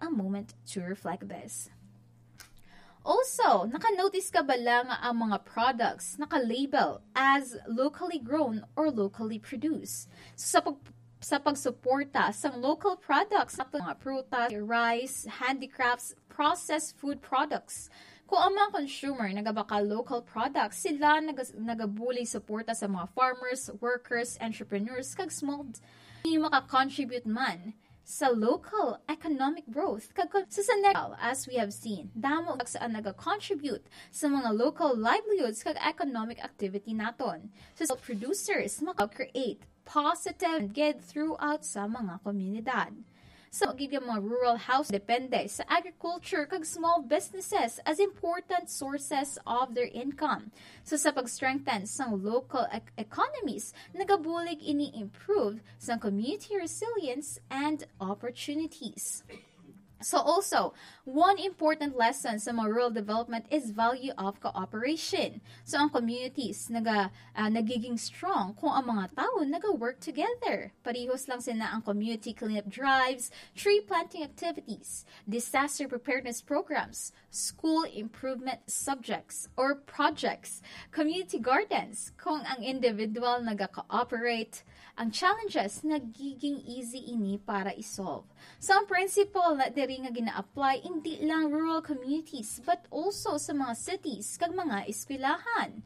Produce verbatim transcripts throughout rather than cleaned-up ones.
a moment to reflect this. Also, naka-notice ka bala nga ang mga products naka-label as locally grown or locally produced? So, sa pag sa pagsuporta sang local products, sa mga prutas, rice, handicrafts, processed food products. Kung ang mga consumer nagabakal local products, sila nagas- nagabulig suporta sa mga farmers, workers, entrepreneurs, kag small, maka-contribute man sa local economic growth kag kon-, sa Senegal, as we have seen, damo sa ang naga-contribute sa mga local livelihoods kag economic activity naton. So, sa producers maka-create positive and get throughout sa mga komunidad. So, gid ang mga rural house depende sa agriculture kag small businesses as important sources of their income. So, sa pag-strengthen sang local ec- economies, nagabulig ini improve sang community resilience and opportunities. So also, one important lesson sa mga rural development is value of cooperation. So ang communities naga, ah, nagiging strong kung ang mga tawo naga-work together. Parihos lang sina ang community cleanup drives, tree planting activities, disaster preparedness programs, school improvement subjects or projects, community gardens. Kung ang individual naga-cooperate, ang challenges nagiging easy ini para i-solve. So, ang principle na diri nga gina-apply hindi lang rural communities but also sa mga cities kag mga eskwelahan.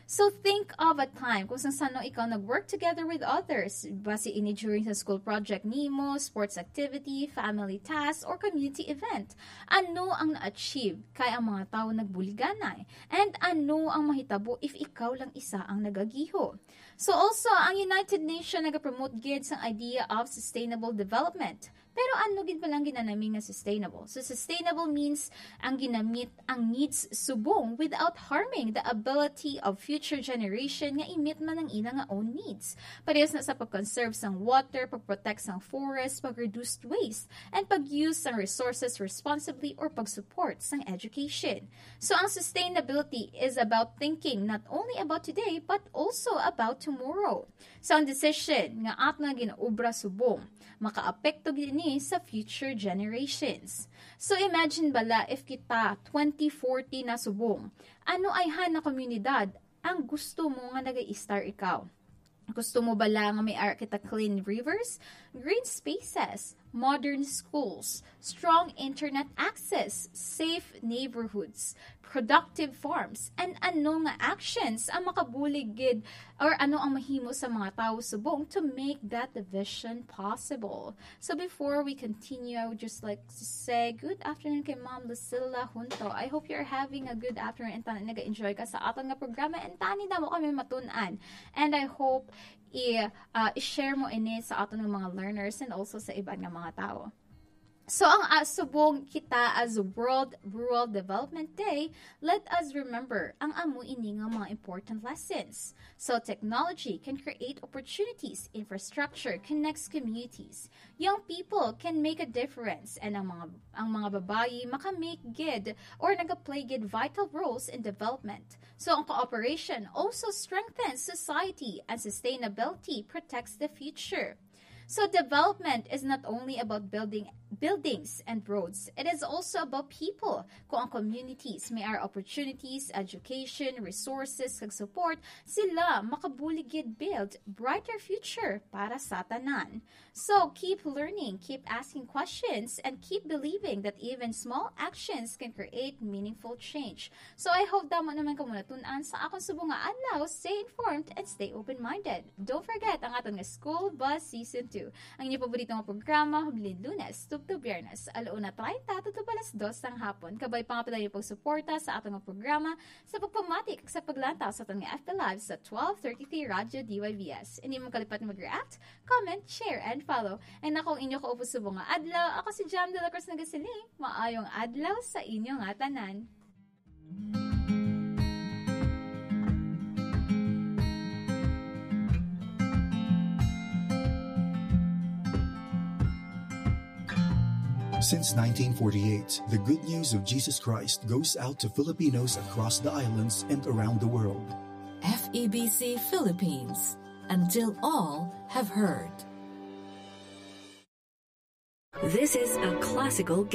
So, think of a time kung sang sano ikaw nag-work together with others. Basi ini during sa school project nimo, sports activity, family task, or community event. Ano ang na-achieve kay ang mga tawo nagbuliganay? And ano ang mahitabo if ikaw lang isa ang nagagiho? So also, ang United Nations nagapromote gid sang idea of sustainable development. Pero ano gid palang ginanami nga sustainable? So sustainable means ang ginamit ang needs subong without harming the ability of future generation nga imit man ang ila nga own needs. Parehas na sa pag-conserve sang water, pag-protect sang forest, pag-reduce waste, and pag-use sang resources responsibly or pag-support sang education. So ang sustainability is about thinking not only about today but also about tomorrow. So ang decision nga ato nga ginaobra subong makaapekto gid ini sa future generations. So imagine bala if kita twenty forty na subong, ano ayhan na komunidad ang gusto mo nga nag-i-star ikaw? Gusto mo bala nga may ara kita clean rivers, green spaces, modern schools, strong internet access, safe neighborhoods, productive farms, and ano nga actions ang makabulig gid or ano ang mahimo sa mga tawo subong to make that vision possible? So before we continue, I would just like to say good afternoon kay Ma'am Lucilla Junto. I hope you're having a good afternoon and tani naga-enjoy ka sa aton nga programa and tani damo kami matun-an. And I hope i, ah, i-share mo ini sa aton nga mga learners and also sa iban nga mga tawo. So, ang, ah, subong kita as World Rural Development Day, let us remember ang amo ini nga mga important lessons. So, technology can create opportunities, infrastructure connects communities, young people can make a difference, and ang mga, ang mga babayi makamake gid or nagaplay gid vital roles in development. So, ang cooperation also strengthens society and sustainability protects the future. So development is not only about building buildings and roads. It is also about people. Kung ang communities may ara opportunities, education, resources, kag support, sila makabulig gid build brighter future para sa tanan. So keep learning, keep asking questions, and keep believing that even small actions can create meaningful change. So I hope damo naman kamo natun-an sa akon subong nga adlaw. Stay informed and stay open-minded. Don't forget ang aton nga School Bus Season two. Ang inyo paborito nga programa, Hublin Lunes, tubtob Biyernes, alauna treinta tubtob alas dos sang hapon. Kabay pa nga padayon pagsuporta sa aton nga programa sa pagpamati kag sa paglantaw sa aton nga F B Live sa twelve thirty-three Radyo D Y V S. Hindi mo kalipat mag-react, comment, share, and follow. And ako ang inyo kaupos subong nga adlaw. Ako si Jam de la Cruz nagasiling, maayong adlaw sa inyo nga tanan. Since nineteen forty-eight, the good news of Jesus Christ goes out to Filipinos across the islands and around the world. F E B C Philippines, until all have heard. This is a classical